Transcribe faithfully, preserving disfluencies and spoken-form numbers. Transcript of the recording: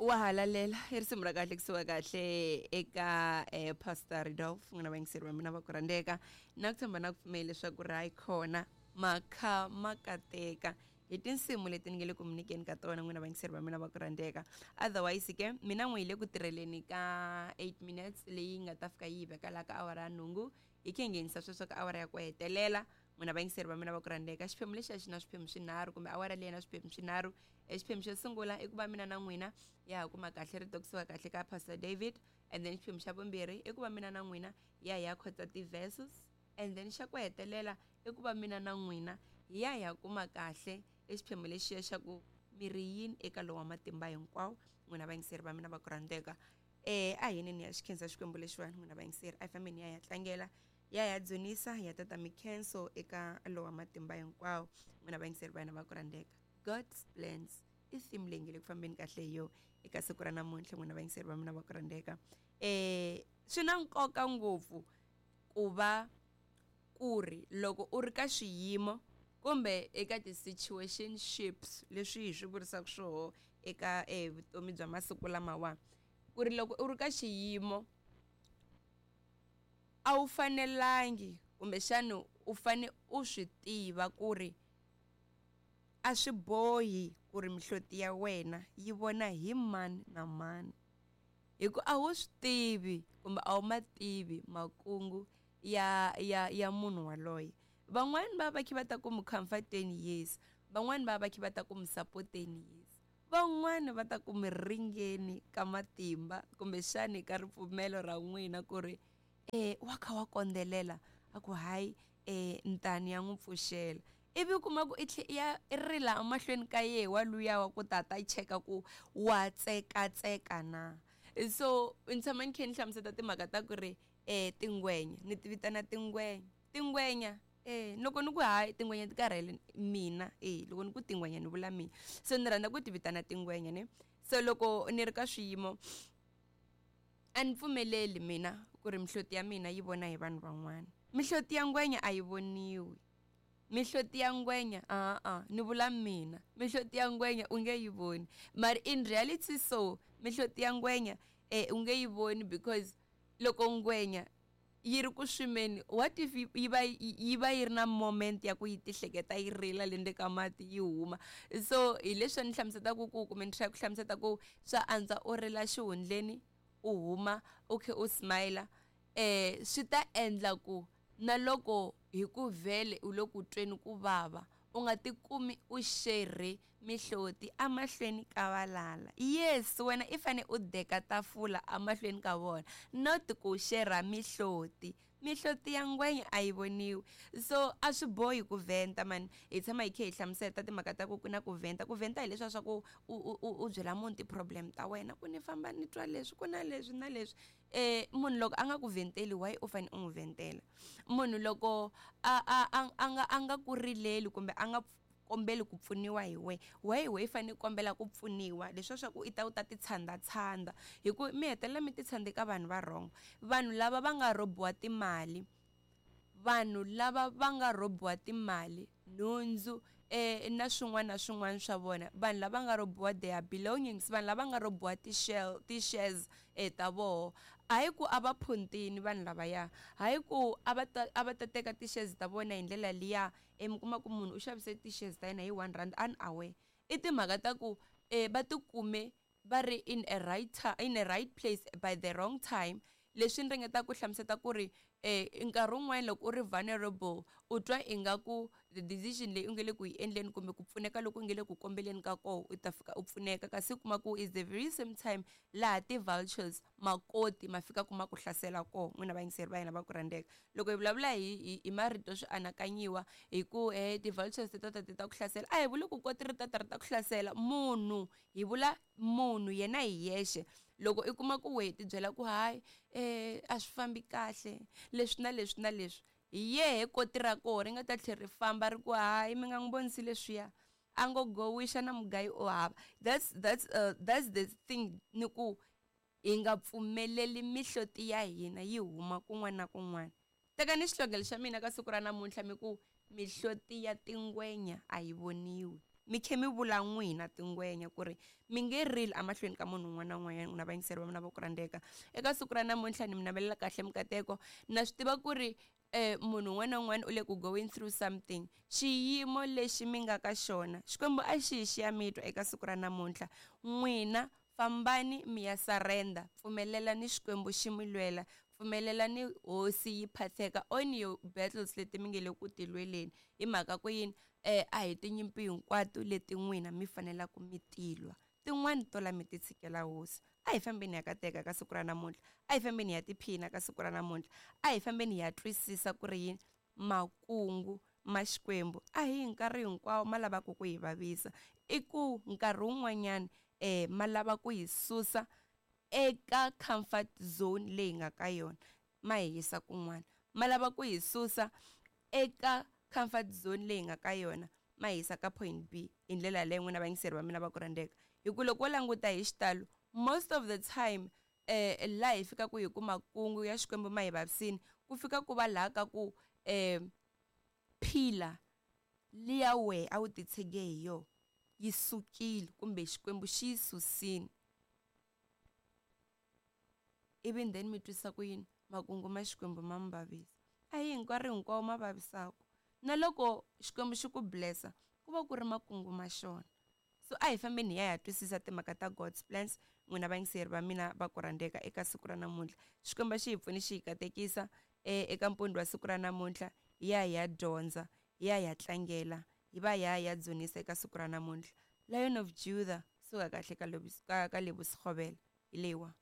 Wa halalela i risimu ra kahle kusuka kahle eka eh, Pastor Rudolph, n'wina vayingiseri va mina va ku rhandzeka, na ku tshemba na ku pfumela leswaku ri hayi khona makha ma kateka hi tinsimu leti ni nge le ku mi nyikeni ka tona, n'wina vayingiseri va mina va ku rhandzeka. Otherwise ke mina n'wi hi le ku tirheleni ka eight minutes leyi nga ta fika yi hi veka laha ka awara ya nhungu, hi khe hi nghenisa sweswo ka awara ya ku hetelela. N'wina vayingiseri va mina va ku rhandzeka, xiphemu lexi a xi na swiphemu swinharhu kumbe awara leyi na swiphemu swinharhu. E xiphemu xo sungula i ku va mina na n'wina ya ha kuma kahle rito kusuka kahle ka Pastor David, and then xiphemu xa vumbirhi i ku va mina na n'wina ya hi ya khotsa ti-verses, and then xa ku hetelela i ku va mina na n'wina hi ya hi ya kuma kahle e xiphemu lexiya xa ku miri yini eka lowa matimba hinkwawo. N'wina vayingiseri va mina va ku rhandzeka, eh a hi yini ni ya xikhensa Xikwembu lexiwani. N'wina vayingiseri a hi fambeni ya ya tlangela, ya ya dzunisa, ya tata mikhenso eka lowa matimba hinkwawo. N'wina vayingiseri va hina va ku rhandzeka, God's plans i theme leyi nge le ku fambeni kahle hi yo eka siku ra namuntlha. N'wina vayingiseri va mina va ku rhandzeka, eh swi na nkoka ngopfu ku va ku ri loko u ri ka swiyimo kumbe eka ti-situationships leswi hi swi vurisaka swoho eka eh vutomi bya masiku lamawa, ku ri loko u ri ka xiyimo a wu fanelangi kumbexana u fane u swi tiva ku ri a swi bohi ku ri mihloti ya wena yi vona hi mani na mani, hi ku a wu swi tivi kumbe a wu ma tivi makungu ya ya ya munhu waloye. Van'wani va va kha va ta ku mi comforteni, yes, van'wani va va kha va ta ku mi supporteni, yes, van'wani va ta ku mi ringeni ka matimba kumbexani ka ripfumelo ra n'wina ku ri eh wa kha wa kondzelela, a ku hayi eh ntani ya n'wi pfuxela, ivi u kuma ku i tlhe ya i rila emahlweni ka yehe wa luya wa ku tata cheka ku wa tsekatseka na. So ni tshama ni kha ni hlamusela timhaka ta ku ri eh tingwenya ni ti vitana tingwenya, tingwenya eh loko ni ku hayi tingwenya ti karhele mina, eh loko ni ku tingwenya ni vula mina, so ni rhandza ku ti vitana tingwenya ne. So loko ni ri ka swiyimo a ni pfumeleli mina ku ri mihloti ya mina yi vona hi vanhu van'wana. Mihloti ya ngwenya a yi voniwi, mihloti ya ngwenya a a ni vula mina, mihloti ya ngwenya u nge yi voni, mara in reality so mihloti ya ngwenya eh u nge yi voni, because loko ngwenya yi ri ku swimeni, what if yi va yi va yi ri na moment ya ku yi tihleketa yi rila le ndzeni ka mati yi huma. So hi leswi ni hlamuselaka ku kumbe ni try ku hlamusela ku swa antswa u rila xihundleni u huma u khe u smile, eh swi ta endla ku na loko hi ku vhele u le ku tweni ku vava u nga tikumi u xerhe mihloti amahlweni ka valala. Yes, wena i fane u deka tafula amahlweni ka vona, not ku xerha mihloti. Mihloti ya ngwenya a yi voniwi, so a swi bohi ku vhenta mani. Hi tshama hi kha hi hlamusela timhaka ta ku ku na ku vhenta. Ku vhenta hi leswiya swa ku u u u byela munhu ti-problem ta wena ku ni famba ni twa leswi ku na leswi na leswi. Eh munhu loko a nga ku vhenteli, why u fane u n'wi vhentela? Munhu loko a a a a nga a nga ku rileli kumbe a nga kombeli ku pfuniwa hi we, why we fane kombela ku pfuniwa? Leswiya swa ku i ta u ta ti tshanda tshanda, hi ku mi hetelela mi ti tshande ka vanhu va wrong, vanhu lava va nga robiwa timali, vanhu lava va nga robiwa timali, nhundzu eh na swin'wana na swin'wana swa vona, vanhu lava nga robiwa their belongings, vanhu lava nga robiwa ti-shell ti-shares eh ta voho. Hayi ku a va phuntini vanhu lavaya, hayi ku a va ta a va ta teka ti-shares ta vona hi ndlela liya, eh mi kuma ku munhu u xavise ti-shares ta yena hi one rand unaware. I timhaka ta ku eh va tikume va ri in a right in a right place by the wrong time. Leswi ni ringetaka ku hlamusela ku ri eh nkarhi wun'wani loko u ri vulnerable u twa ingaku the decision leyi u nge le ku yi endleni kumbe ku pfuneka loko u nge le ku kombeleni ka koho u ta fika u pfuneka, kasi u kuma ku is the very same time laha ti-vultures makoti ma fika kuma ku hlasela koho. N'wina vayingiseri va hina va ku rhandzeka, loko hi vulavula hi hi marito swi anakanyiwa hi ku eh ti-vultures ti ta ta ti ta ku hlasela, a hi vuli ku koti ri ta ta ri ta ku hlasela munhu, hi vula munhu yena hi yexe. Loko i kuma ku wehe ti byela ku hayi eh a swi fambi kahle leswi na leswi na leswi, hi yehe koti ra koho ri nga ta tlhela ri famba ri ku hayi mi nga n'wi vonisi leswiya, a ngo gowisha na mugayi o hava. That's that's uh, that's the thing, ni ku hi nga pfumeleli mihloti ya hina yi huma kun'wana na kun'wana. Teka ni xihlogelo xa mina ka siku ra namuntlha mi ku mihloti ya tingwenya a yi voniwi. Mi khe mi vula n'wina tingwenya ku ri mi nge rili emahlweni ka munhu un'wana na un'wanyana. N'wina vayingiseri va mina va ku rhandzeka, eka siku ra namuntlha ni mi navelela kahle mikateko. Na swi tiva ku ri eh munhu un'wana na un'wana u le ku going through something. Xiyimo lexi mi nga ka xona, Xikwembu a xi hi xi ya mi twa eka siku ra namuntlha. N'wina fambani mi ya surrender, pfumelelani Xikwembu xi mi lwela, pfumelelani hosi yi phatheka on your battles leti mi nge le ku ti lweleni. Hi mhaka ku yini? Eh a hi tinyimpi hinkwato leti n'wina mi fanelaka mi tilwa, tin'wani to la mi ti tshikela hosi. A hi fambeni ya kateka ka siku ra namuntlha, a hi fambeni ya tiphina ka siku ra namuntlha, a hi fambeni ya twisisa ku ri yini makungu ma Xikwembu a hi nkarhi hinkwawo ma lavaka ku hi vavisa. I ku nkarhi wun'wanyana eh ma lava ku hi susa eka comfort zone leyi nga ka yona, ma hi yisa kun'wana. Ma lava ku hi susa eka comfort zone leyi nga ka yona, ma hi yisa ka point B. Hi ndlela yaleyo n'wina vayingiseri va mina va ku rhandzeka, hi ku loko wo languta hi xitalo most of the time eh laha hi fikaka hi ku makungu ya Xikwembu ma hi vavisini, ku fika ku va laha ka ku eh phila liya wehe a wu titshege hi yona yi sukile, kumbe Xikwembu xi yi susile, ivi then mi twisa ku yini makungu ma Xikwembu ma mi vavisa. A hi hinkwaro hinkwawo ma vavisaka, na loko Xikwembu xi ku blessa ku va ku ri makungu ma xona. So a hi fambeni hi ya hi ya twisisa timhaka ta God's plans. N'wina vayingiseri va mina va ku rhandzeka, eka siku ra namuntlha Xikwembu xi hi pfuni xi hi katekisa eka mpundzu wa siku ra namuntlha. Hi ya hi ya dyondza, hi ya hi ya tlangela, hi va hi ya hi ya dzunisa eka siku ra namuntlha. Lion of Judah, suka kahle ka ka ka Lebosekgobela, hi leyiwa.